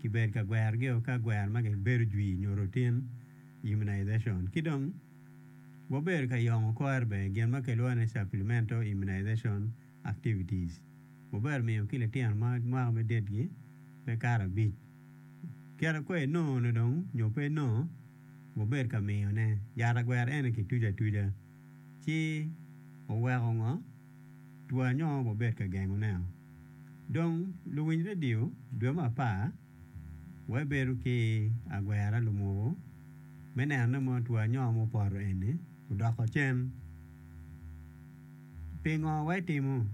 Kibedo ka gwerogio ka gwer ma gibedo jwi nyo routine immunization. Ki dong wabedo ka yongo kore bene gin ma kilwongo ni supplemental immunization activities. Wabedo miyo ki litino ma mwaka me ditgi pe kato abic. Kit kong inongo ni dong nyo pe inongo, wabedo ka miyone. Yat agwera eni kituco atuca ci oweko ngo? Two anyo wabed ka gengoneo. Dong luwiny redio dwe me apar wabedo ki agwera lumuku me neno ni mono two anyo mupoto eni odoko cen. Pingo waitimo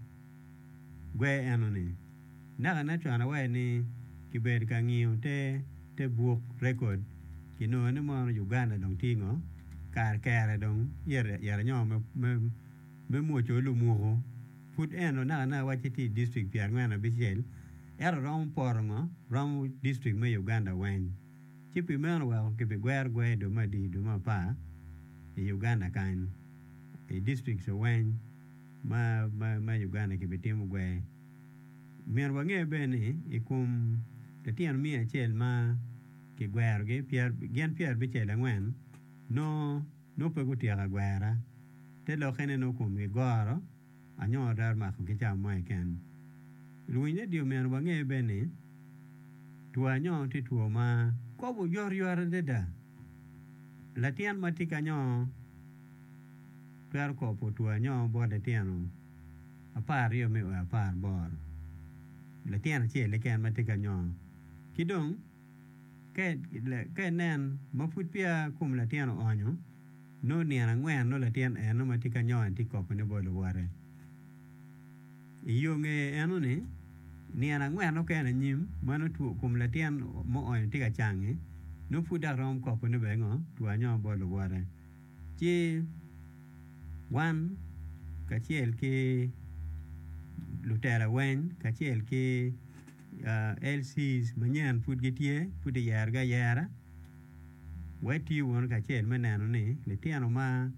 gwer eno-ni? Nakane con awaco ni kibedo ka ngiyo te te buk rekod kinongo ni mono Uganda dong tye ngo kare kere dong ite anyo me me mwoco lumuku pud eno nakanaka wacci tye i distrik pyerangwen abicel ento romo poto ngo romo distrik me Uganda weng ci pi meno weko kibigwero gwer i dwe me adi dwe me apar i Uganda kany i distrikts weng ma ma Uganda kibitimo gwer. Myero wange bene ni i kom litino miya acel ma kigwerogi gin 94 nongo Nongo pe gutyeko agwera, te lokke ni nongo komgi goro anyo twero makogi cawa mo keken. Luwiny redio myero wange bene ni two anyo tye two ma kobo oyotoyot adada. Latin ma tye ki anyo twero kobo two anyo bot litino 12 me o 18, latin acel keken ma tye ki anyo. Ki dong Ka inen ma pud peya kom latin oonyo, nongo nino angwen nongo latin eno ma tye ka nyonge tye ka kopone bot luwote. I yo ngeye eno-ni, nino angwen mukene anyim ma nongo two kom latin muonyo tye ka cangi, nongo pud dok romo kopone bene ngo two anyonga bot luwote. Ci wan kacel ki lutela weng kacel ki LCs manyen pud gitye pud kiyerogi ayera wek etiyo wunu kacel me neno ni litino ma.